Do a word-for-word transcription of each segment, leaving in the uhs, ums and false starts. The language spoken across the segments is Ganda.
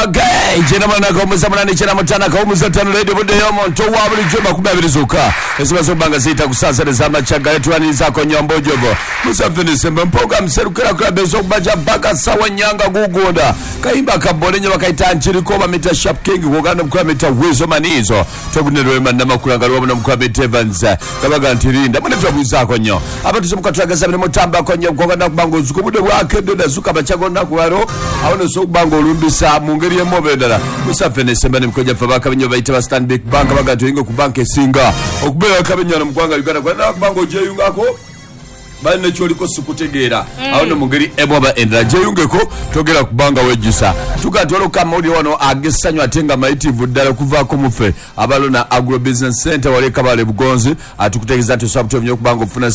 Okay, jena mwana kwa munane chena mutana kwa muzatano radio bude yomo ntowa bulijjo makumi abiri zokka ezimaze okubanga ziyita ku ssaawa ssatu ez'amakya galetuwanirizaako Nyombo Jogo Museveni Sembe mpoga mserukira club ez'okubaja mpaka ssawa nnyanga gugonda kayimba kabole nnyo bakayita nkiriko bamita Sharp King kuganda mukula mita Wezo Manizo togunerwema namakula nga lwamu nomukula mita Evans gabaga nti linda mune twabuzaako nnyo abatuze mukatwagaza bino mutambako nnyo kuganda kubanga ozuka obudde bwakedde nazuka amakya g'olunaku lwalo awo nosobola okuba nga olumbisa mu ngeri emu endala. Museveni Sembe ne mukojja ffe abakabenyo bayita ba Stanbic Bank baga nti oyinga ku banka esinga okubeera akabenyo wano mu ggwanga Uganda kwenda kubanga ogyeyungako bali nekyoliko sikutegeera awo no mu ngeri emu oba endala gyeyungeko togera kubanga wejjusa. Tuga nti waliwo kamawulire wano ag'essanyu ate nga mayitirivu ddala okuvaako muffe abalona Agro Business Center wali e Kabale Bugonzi atukutegeeza nti osobola butono nnyo okubanga ofuna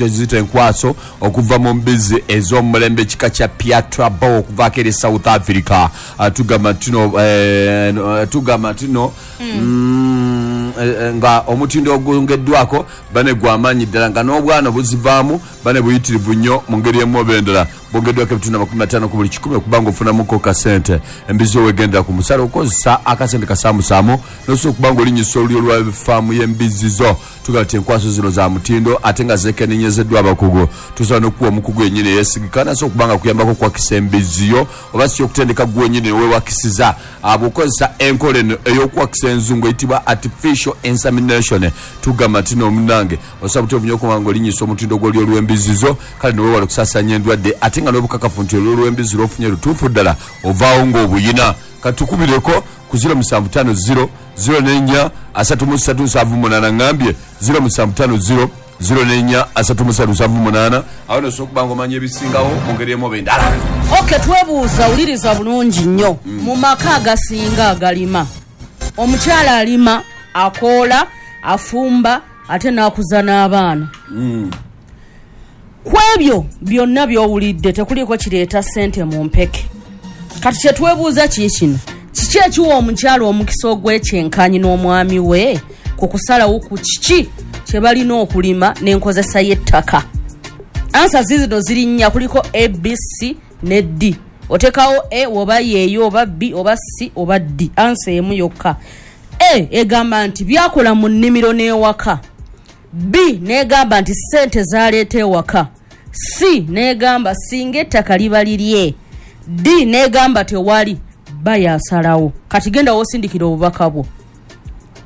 ziyita enkwaso okuva mu mbizzi ez'omulembe ekika kya Piatra Bow okuvaako eri South Africa. Tugamba nti no tugamba nti no nga omutindo ogwongeddwako bane gw'amaanyi ddala nga n'obwana buzivaamu bane buyitirivu nnyo mu ngeri emu oba endala bwongeddwako ebitundu amakumi ataano ku buli kikumi okubanga ofunamuko kasente embizi owegendera ku musala okozesa akasente kasaamusaamu nosobola okubanga olinnyisa olulyo lwa faamu y'embizzi zo. Tugamba nti enkwaso zino za mutindo ate nga zeekeneenyezeddwa abakugu. Tusobola n'okuwa omukugu yennyini eyeesigika nasobola okubanga akuyambako okwakisa embizzi yo oba si okutendeka gwe wennyini weewakisiza bw'okozesa enkola eno ey'okwakisa enzungu eyitibwa artificial insemination. Tugamba nti n'omunnange osobola butono nnyo okubanga olinnyisa omutindo gw'olulyo lw'embizzi zo kale neweewala okusaasaanya endwadde ate nga n'obukakafu nti olulyo lw'embizzi lw'ofunye lutuufu ddala ovaawo ng'obuyina. Katukubireko ku ziro musanvu ttaano ziro ziro nnya asatu mu ssatu nsanvu munaana ngambye ziro musanvu ttaano ziro ziro nnya asatu mu ssatu nsanvu munaana awo nosobola okuba ng'omanya ebisingawo mu ngeri emu oba endala. Okay, twebuuza wuliriza bulungi nnyo. Mu maka agasinga agalima omukyala alima akoola afumba ate n'akuza n'abaana. Ku ebyo byonna by'owulidde tekuliiko kireeta ssente mu mpeke. Kati kye twebuuza ki kino, kiki ekiwa omukyala omukisa ogw'ekyenkanyi n'omwami we ku kusalawo ku kiki kye balina okulima n'enkozesa y'ettaka? Ansa zizino ziri nnya, kuliko A, B, C ne D. Oteekawo A oba yeeyo oba B oba C oba D, ansa emu yokka. A egamba nti byakola mu nnimiro n'ewaka. B n'egamba nti ssente z'aleeta ewaka. C n'egamba singa ettaka liba lirye. D n'egamba tewali, ba yasalawo. Kati genda w'osindikira obubaka bwo,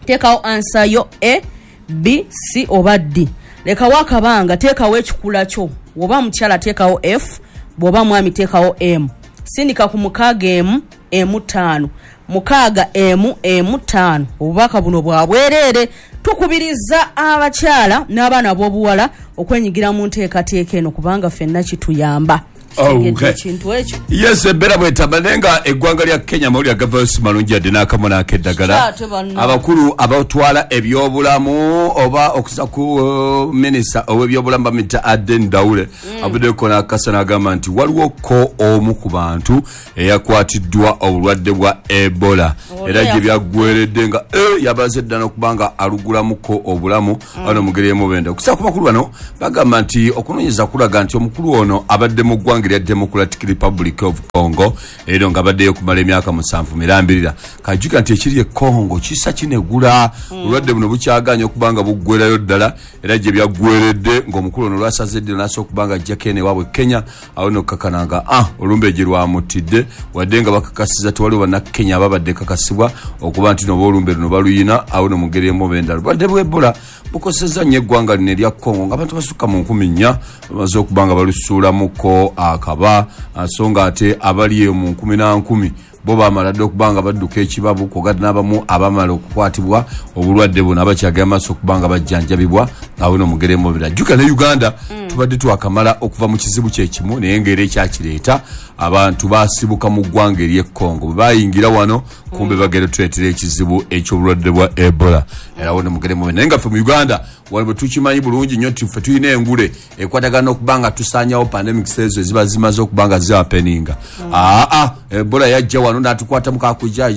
teekawo ansa yo A, B, C oba D. Lekawo akabanga, teekawo ekikula kyo. Bw'oba mukyala teekawo F, bw'oba mwami teekawo M. Sindika ku mukaaga emu emu ttaano mukaaga emu emu ttaano. Obubaka buno bwa bwereere. Tukubiriza abakyala n'abaana ab'obuwala okwenyigira mu nteekateeka eno kubanga ffenna kituyamba. Okay. Ekintu ekyo. Yes, embeera bwetamba naye nga eggwanga lya Kenya amawulire agavaayo si malungi yadde n'akamu n'akeddagala. Ate banno. Abakulu abatwala ebyobulamu oba okusa ku uh, minisita ow'ebyobulamu bamuyita Aden Daule avuddeko n'akasa n'agamba nti waliwo ko omu ku bantu eyakwatiddwa obulwadde bwa Ebola era gye byaggweredde nga eh, yabaze dda n'okuba nga alugulamuko obulamu ano mu ngeri emu oba endala. Okusinziira ku bakulu bano bagamba nti okunoonyereza kulaga nti omukulu ono abadde mu ggwanga erya Democratic Republic of Congo era nga abaddeyo okumala emyaka musanvu mirambirira. Kajjukira nti ekiri e Congo kisa kinegula obulwadde buno bukyagaanye okuba nga buggwerayo ddala era gye byaggweredde ng'omukulu ono lwasaze eddiro n'asooka okuba nga ajjako eno ewaabwe Kenya awo nno okukakana nga ah olumbe gye lwamuttidde wadde nga bakakasiza tewaliwo bannakenya ababadde kakasibwa okuba nti noba olumbe luno baluyina awo nno mu ngeri emu oba endala. Obulwadde bwa Ebola bukosezza nnyo eggwanga lino erya Congo ng'abantu basukka mu nkumi nnya bamaze okuba nga balusuulamuko akaba so nga ate abali eyo mu nkumi na nkumi bo bamala dda okuba nga badduka ekibabu kw'ogatta n'abamu abamala okukwatibwa obulwadde buno abakyagenda maaso okuba nga bajjanjabibwa awo nno mu ngeri emu oba endala. Jjukira ne Uganda tubadde twakamala okuva mu kizibu kye kimu naye ng'era ekyakireeta abantu basibuka mu ggwanga ery'e Congo bwe bayingira wano kumbe bagenda tuleetera ekizibu eky'obulwadde bwa Ebola era awo nno mu ngeri emu oba endala. Naye nga ffe mu Uganda wano bwe tukimanyi bulungi nnyo nti ffe tulina engule ekwatagana n'okuba nga tusaanyawo pandemics ezo eziba zimaze okuba nga zihappeninga. Aa Ebola yajja wano n'atukwatamu kakujja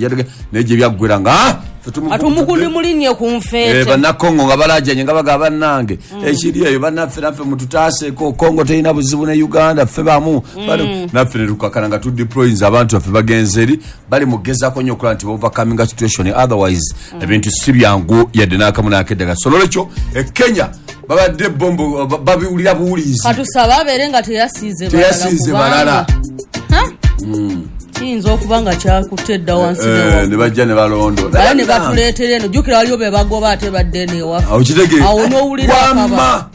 naye gye byaggwera nga ah, Atumukundi mulinye ku nfeete. Eh, bannakongo nga balajanye nga bagaba bannange ekiri eyo bannaffe naffe mututaaseko, Kongo terina buzibu ne Uganda, ffe bamu mm. naffe ne tukakana nga tudeployinze abantu baffe bagenze eri bali mugezaako nnyo okulaba nti overcoming situation, otherwise mm. ebintu si byangu yadde n'akamu n'akeddaga. So nolwekyo e Kenya babadde bombo babiwulira buwulizi, katusaba abeere nga teyasiize teyasiize balala. Mm. Kiyinza okuba nga kyakutte edda wansi eh, ne bajja ne balondola ne batuleetera eno. Jjukira waliwo be bagoba ate badde eno ewaffe, awo n'owulira akaba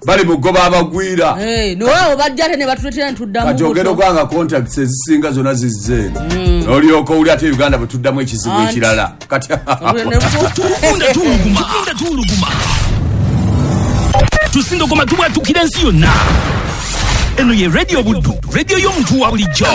bali mugoba abagwira niwaawo bajja ate ne batuleetera ne tuddamu. Kati ogenda okubanga contacts ezisinga zonna zizze eno, n'olyoka owulira ate Uganda bwe tuddamu ekizibu ekirala. Kati tuwuluguma tuwuluguma tusindogoma tubwatukira ensi yonna. Eno ye Radio Buddu, radio y'omuntu wa bulijjo.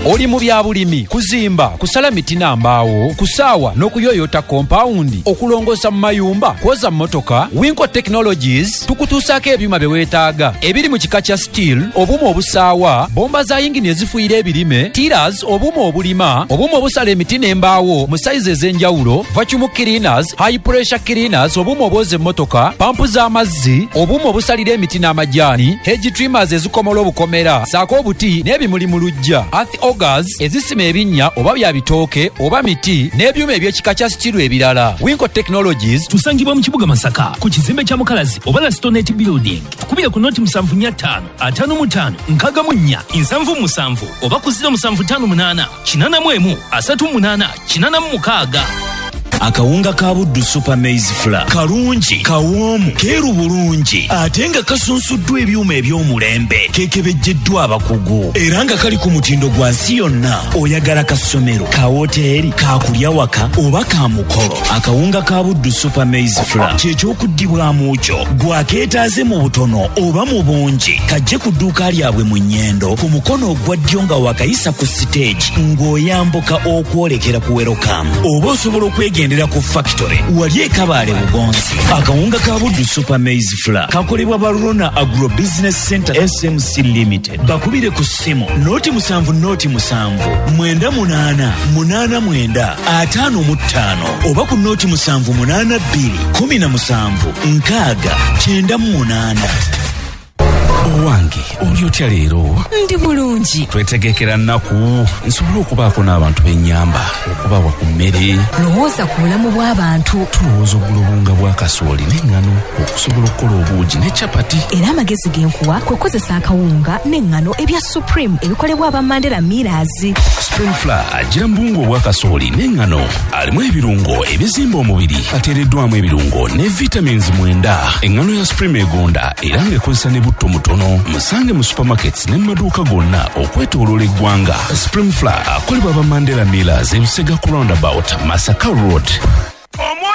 Oli mu bya bulimi, kuzimba, kusala miti na mbaawo, kusaawa n'okuyoyota kompawundi, okulongoosa mu mayumba, kwoza mmotoka. Winco Technologies tukutuusaako ebyuma bye weetaaga ebiri mu kika kya steel, obuuma obusaawa, bomba za yingini ezifuuyira ebirime, tillers, obuuma obulima, obuuma obusala emiti n'embaawo mu sayizi ez'enjawulo, vacuum cleaners, high pressure cleaners, obuuma obwoza emmotoka, pampu z'amazzi, obuuma obusalira emiti n'amajaani, hedge trimmers ezikomola obukomera, saako obuti n'ebimuli mu luggya, earth augers ezisima ebinnya oba bya bitooke oba miti n'ebyuma eby'ekika kya sitiru ebirala. Winco Technologies tusangibwa mu kibuga Masaka ku kizimbe kya Mukalazi oba la Stonet Building. Tukubira ku noti musanvu nnya ttaano ataano mu ttaano nkaaga mu nnya nsanvu musanvu oba ku ziro musanvu ttaano munaana kinaana mu emu asatu munaana kinaana mu mukaaga. Akawunga ka Buddu Super Maize Flour kalungi, kawoomu, keeru bulungi ate nga kasunsuddwa ebyuma eby'omulembe, kekebejjeddwa abakugu era nga kali ku mutindo gwa nsi yonna. Oyagala kasomero, ka woteeri, kakulya waka oba ka mukolo, akawunga ka Buddu Super Maize Flour kyekyokuddibwamu kyo. Gwakeetaaze mu butono oba mu bungi, kajje ku dduuka lyabwe mu Nnyendo ku mukono ogwa ddyo nga wakayisa ku siteegi ng'oyambuka okwolekera ku Welcome, oba osobola okwegenda ku factory wali e Kabaale Bugonzi. Akawunga ka Buddu Super Maize Flour kakolebwa Barona Agro Business Center S M C Limited. Bakubire ku ssimu noti musanvu noti musanvu mwenda munaana munaana mwenda ataano mu ttaano oba ku noti musanvu munaana bbiri kumi na musanvu nkaaga kyenda mu munaana. Owange, oli otya leero? Ndi bulungi. Twetegekera nnaku nsobole okubaako n'abantu b'ennyamba, okubawa ku mmere. Lowooza ku bulamu bw'abantu. Tulowooza ogula obuwunga bwa kasooli n'eŋŋano okusobola okukola obuugi ne capati. Era amagezi ge nkuwa kwe kukozesa akawunga n'eŋŋano ebya Supreme ebikolebwa aba Mandela Millers. Supreme Flour agira mu buwunga obwa kasooli n'eŋŋano, alimu ebirungo ebizimba omubiri, ateereddwamu ebirungo ne vitamins mwenda. Eŋŋano ya Supreme egonda era ng'ekozesa ne butto mutono. Musange mu supermarkets ne mu maduuka gonna okwetooloola eggwanga. Supreme Flour akolebwa aba Mandela Millers, Ebisega ku roundabout, Masaka Road.